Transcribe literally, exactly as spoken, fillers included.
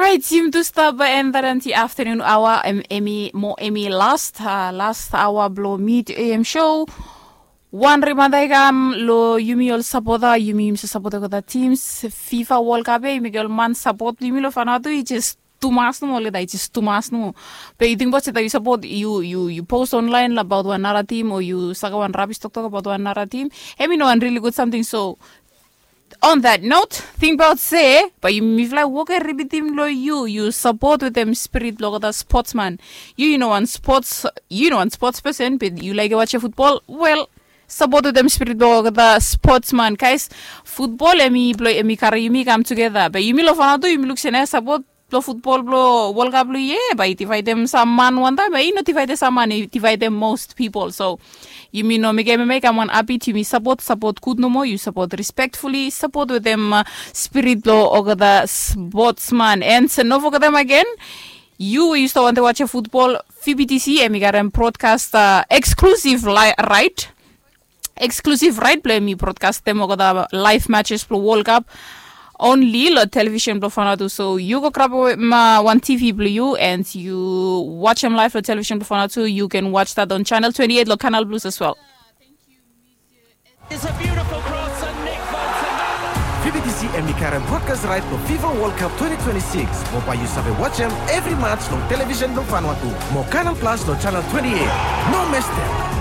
Orait, yumi tu stap bai en that anti afternoon awa, em emi mo emi last uh, last awa blo mid am show. Wan reminder i kam lo yumi ol sapota, yumi yumi sa sapota olgeta teams. Fifa World Cup e yumi get ol man sapot blo yumi lo fanaotu i jes tumas nomo olgeta, i jes tumas nomo. Be yu tingbaot se that yu sapot, yu yu yu post online abaot wan nara tim o yu saka wan rabis toktok abaot wan nara tim, em i no wan rili gud samting. So on that note, tingbaot se bae mifala i wok ripitim lo yu, yu sapot wetem spirit blo olgeta spotsman. Yu yu no wan spots, yu no wan spots pesen be yu laik wajem futbol, wel, sapot wetem spirit blo olgeta spotsman. Guys, futbol em i blo em i karim yumi kam tugeta, be yumi lo fanaotu yumi luk se na sapot blo futbol blo World Cup blo yia bae i divaedem sam man wantaem, bae i no divaedem sam man, i divaedem most people. So yumi no mekem em i kam wan abit, yumi sapot, sapot gud nomo, yu sapot respektfuli, sapot wetem uh, spirit blo olgeta spotsman. And so no fogetem agen, yu we yu stap wantem wajem futbol, V B T C em i karem brodkast uh, eksklusiv rait, eksklusiv rait blo em i brodkastem olgeta laev matches blo World Cup onli lo televisen blo fanaotu. So yu go grabem wan TV blo yu and yu wajem laev lo televisen blo fanaotu. You can watch that on channel twenty-eight lo Canal Plus as well. V B T C em i karem brodkas rait blo Fifa World Cup twenty twenty-six mo bae yu save wajem evri mats long televisen blo Vanuatu mo Canal Plus lo channel twenty-eight. No mestem.